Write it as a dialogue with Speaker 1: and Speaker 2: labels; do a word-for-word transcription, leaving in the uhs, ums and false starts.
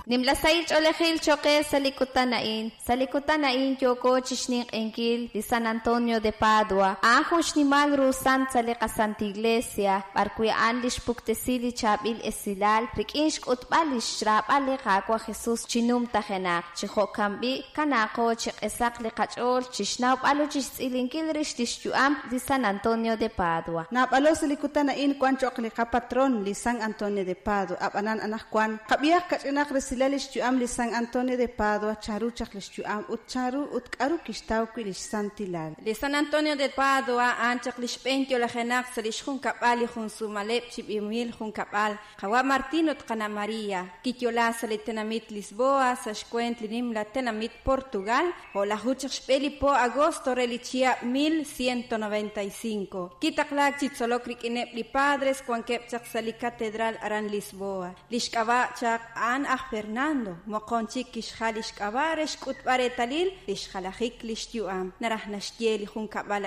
Speaker 1: Nimla sahil ch'oolejil cho'q qe sa' li kutan a'in. Sa' li kutan a'in yooko chi xninq'ehinkil li San Antonio de Padua. A'an jun xnimal ru sant sa' li qaSanta Iglesia, b'arwi' a'an li xpuktesi li chaab'il esilal rik'in xk'utb'al li xraab'al li Qaawa' Jesus chi numtajenaq. Chi jo'kan b'i', kanaaqo chi q'esaq li qach'ool chi xnawb'al ut chi xtz'ilinkil rix li xyu'am li San Antonio de Padua.
Speaker 2: Naab'alo sa' li kutan a'in wan cho'q li qapatron li San Antonio de Padua. Ab'anan anaqwan qab'ihaq kach'inaq resilal li xyu'am li San Antonio de Padua, chanru chaq li xyu'am ut chanru ut k'aru kixtaw wi' li xsantilal.
Speaker 3: Li San Antonio de Padua a'an chaq li xb'een yo'lajenaq sa' li xjunkab'al li junsumaleb' chi b'ihomil junkab'al qawa' Martín ut qana' María. Kiyo'la sa' li tenamit Lisboa sa' xweent li nimla tenamit Portugal, o'laju chaq xb'e li po agosto re li chihab' mil ciento noventa y cinco. Kitaqlaak chi tzolok rik'ineb' li padres wankeb' chaq sa' li catedral aran Lisboa. Li xk'ab'a' chaq a'an aj Fernando, moqon chik kixjal li xk'ab'a' re xk'utb'al reetalil li xjalajik li xyu'am. Naraj naxye li junkab'al